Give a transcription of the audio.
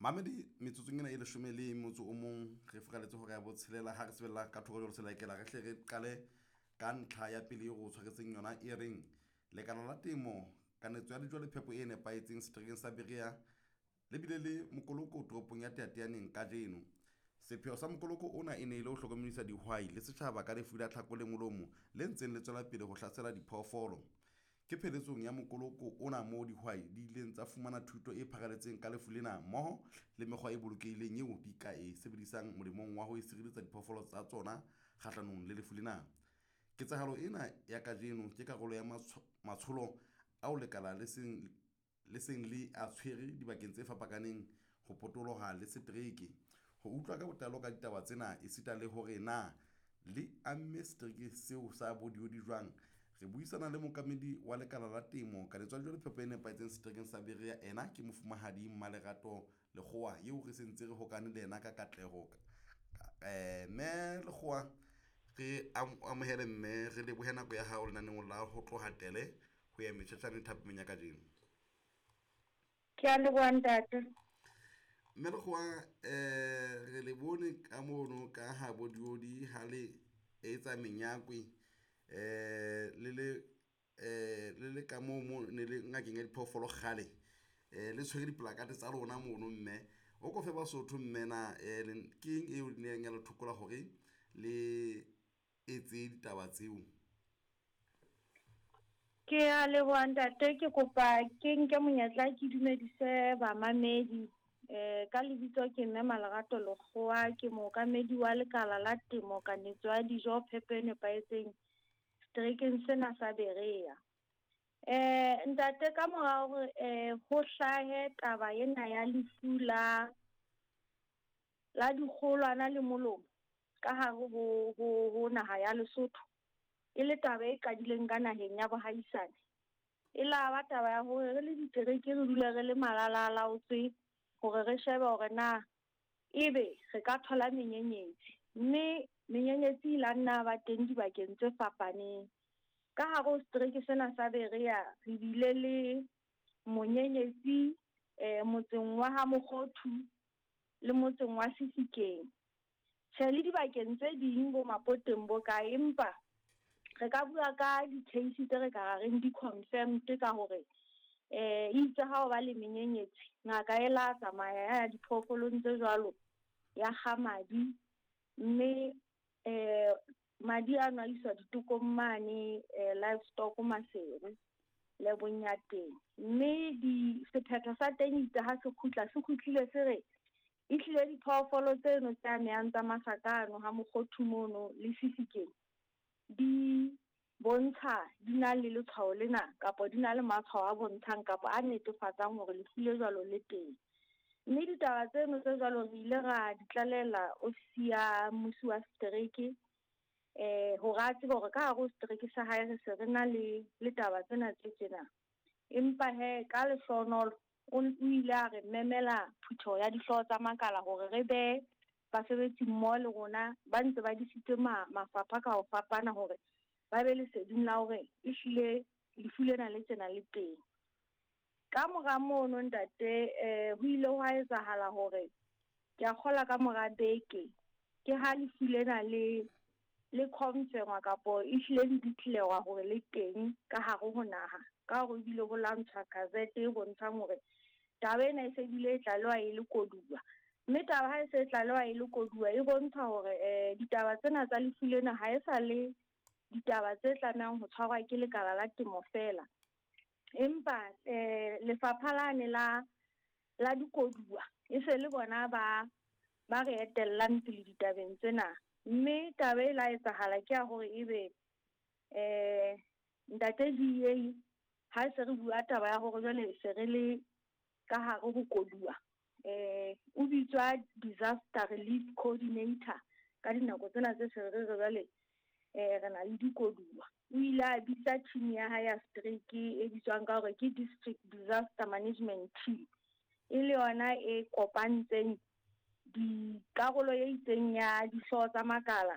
Mamedi metsotsong ena e leshome le motso o mong re furaletse hora ya botshelela ha re sebella ka thoko jwalo selakela re hle re qale ka ntlha ya pele eo re o tshwaretseng yona e reng lekala la temo kanetso ya dijo le phepo e nepahetseng seterekeng sa Berea le bile le mokoloko toropong ya Teyateyaneng kajeno. Sepheo sa mokoloko ona e ne e le ho hlokomedisa dihwai le setjhaba ka lefu la tlhako le molomo le ntseng le tswela pele ho hlasela diphoofolo. Ke pheletsong ya mokoloko ona moo dihwai di ileng tsa fumana thuto e pharaletseng ka lefu lena mmoho le mekgwa e bolokehileng eo di ka e sebedisang molemong wa ho sireletsa diphoofolo tsa tsona kgahlanong le lefu lena. Ketsahalo ena ya kajeno ke karolo ya matsholo ao lekala le seng le seng le a tshwere dibakeng tse fapakaneng ho potoloha le setereke. Ho utlwa ka botlalo ka ditaba tsena esita le hore na le amme setereke seo sa Bodiodi jwang, re buisana le mookamedi wa lekala la temo kanetso ya dijo le phepo e nepahetseng seterekeng sa Berea. Ena ke mofumahadi Mmalerato Lekgowa eo re sentse re hokane le yena ka katleho. Mme Lekgowa, re amohele mme re lebohe nako ya hao lenaneong la ho tloha tele ho ya metjhetjhane thapameng ya kajeno. Ke a leboha ntate. Mme Lekgowa, re le bone ka mono ka ha Bodiodi ha le etsa menyakwe le le le le ka moo mo ne le ngakeng ya diphoofolo kgale, le tshwere diplakate tsa lona mono. Mme o ko fe Basotho mme na ke eng eo neng ya le thokola hore le etse ditaba tseo? Ke a leboha ntate, ke kopa ke nke monyetla ke dumedise bamamedi. Ka lebitso ke mme Malerato Lekgowa, ke mookamedi wa lekala la temo kanetso ya dijo phepo e nepahetseng seterekeng sena sa Berea. Ntate ka mora hore ho hlahe taba ena ya lefu la la dikgolwana le molomo ka hare ho ho ho naha ya Lesotho, e le taba e qadileng ka naheng ya bohaisane. E la ba taba ya hore re le ditereke re dule re le malala a laotswe hore re shebe hore na ebe re ka thola menyenyetsi, mme menyenyetsi e la nna ba teng dibakeng tse fapaneng. Ka hare ho setereke sena sa Berea re bile le monyenyetsi motseng wa ha Mokgothu le motseng wa Sefikeng. Tjhe, le dibakeng tse ding bo Mapoteng bo kae, empa re ka bua ka di-case tse re ka reng di-confirmed ka hore itse ha o ba le menyenyetsi ngaka e la tsamaya ya diphoofolong tse jwalo ya kga madi, mme madi ano a iswa ditekong mane livestock Maseru lebong ya teng. Mme di sephetho sa teng itse ha se kgutla se kgutlile se re ehlile diphoofolo tseno tse amehang tsa masaka ano ha Mokgothu mono le Sefikeng di bontsha di na le letshwao lena kapa di na le matshwao a bontshang kapa a netefatsang hore lefu le jwalo le teng. Mme ditaba tseno tse jwalo re ile ra di tlalehela ofisi ya mmusi wa setereke hore a tsebe hore ka hare ho setereke sa hae re se re na le le taba tsena tse tjena. Empa hee ka lehlohonolo o ile a re memela phutheho ya dihlooho tsa makala hore re be basebetsi mmoho le rona ba ntse ba disitse mafapha ka ho fapana hore ba be leseding la hore ehlile lefu lena le tjena le teng. Ka mora mono ntate ho ile hwa etsahala hore ke a kgola ka mora beke ke ha lefu lena le le confirm-wa kapo ehlile le declare-wa hore le teng ka hare ho naha, ka hore ebile ho lantshwa gazette e bontshang hore taba ena e se bile e tlalewa e le koduwa. Mme taba ha e se e tlalewa e le koduwa e bontsha hore ditaba tsena tsa lefu lena ha e sa le ditaba tse tlamehang ho tshwarwa ke lekala la temo fela. Empa lefapha lane la la dikoduwa e se le bona ba ba re etellang pele ditabeng tsena. Mme taba e la etsahala ke ya hore ebe ntate DA ha se re bua taba ya hore jwale se re le ka hare ho koduwa, o bitswa disaster relief coordinator ka dinako tsena tse se re re jwale re na le dikoduwa. O ile a bitsa team ya hae ya setereke e bitswang ka hore ke district disaster management team, e le yona e kopantseng dikarolo e itseng ya dihlooho tsa makala.